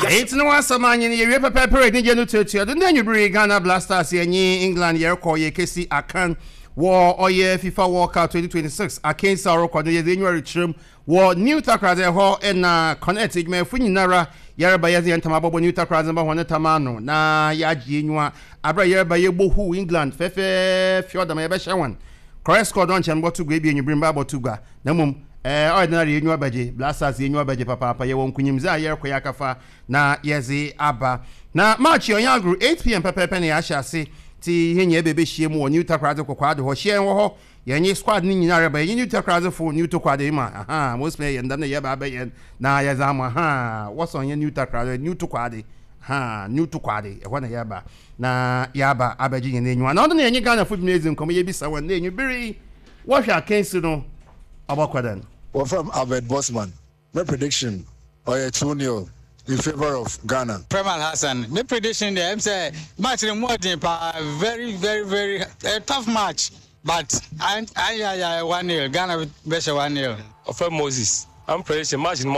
Enti na w'asɛm anye no yɛwie pɛpɛɛpɛ anigye no tuatua do. Ndɛ anwuber yi Ghana Blasters yɛnye England yɛrokɔ yekesi akan wɔ ɔyɛ FIFA World Cup 2026 akansi a ɔrokɔ do. Yɛdze enyiwa rekyerɛ mu wɔ New Takoradi hɔ na Connect edwumayɛfo nyinara yɛreba yɛdze hɛn tam abɔbɔ New Takoradi mba hɔn tam ano na yɛagye enyiwa aber a yɛreba yebohuw England fɛfɛɛfɛw dɛm a yɛbɛhyɛ hɔn. Correct score do ɔnnkyɛr mobɔto gua ebia enwuber mba abɔto gua Na mbom ɔyɛ dɛn ara yenyiwa bɛgye, Blasters yenyiwa bɛgye papaapa, yɛwɔ nkunyimdze a yɛrokɔ yɛakɛfa na yɛdze aba. Na match yi ɔnnyɛ agor, 8 pm pɛpɛɛpɛ na yɛahyɛ ase, ntsi hɛn nyina yɛbɛbehyia mu wɔ New Takoradi Kokoado hɔ. Hyia hɛn wɔ hɔ, yɛnye squad no nyina reba, yɛnye New Takoradzifo, New Tokwade ma, ahaa, mosua yɛn dɛm na yɛreba abɛyɛ na yɛdze ama, ahaa, wɔsɔn hɛn New Takoradi, New Tokwade, ahaa, New Tokwade, ɛhɔ na yɛreba na yɛaba abɛgye hɛn enyiwa. Na ɔno na yɛnye Ghanafo binom edzi nkɔmbɔ, yebisa hɔn dɛ enyiber yi, Wɔhwɛ akansi no ɔbɔkɔ dɛn? Wɔfrɛ me Albert Bossman. Me prediction ɔyɛ 2-nil in favour of Ghana. Freeman Hassan, me prediction deɛ ɛm sɛ match no mu ɔden paa, very very very a tough match, but ayayaya 1-nil Ghana bɛhyɛ 1-nil. Wɔfrɛ me Moses. I'm prediction match no mu.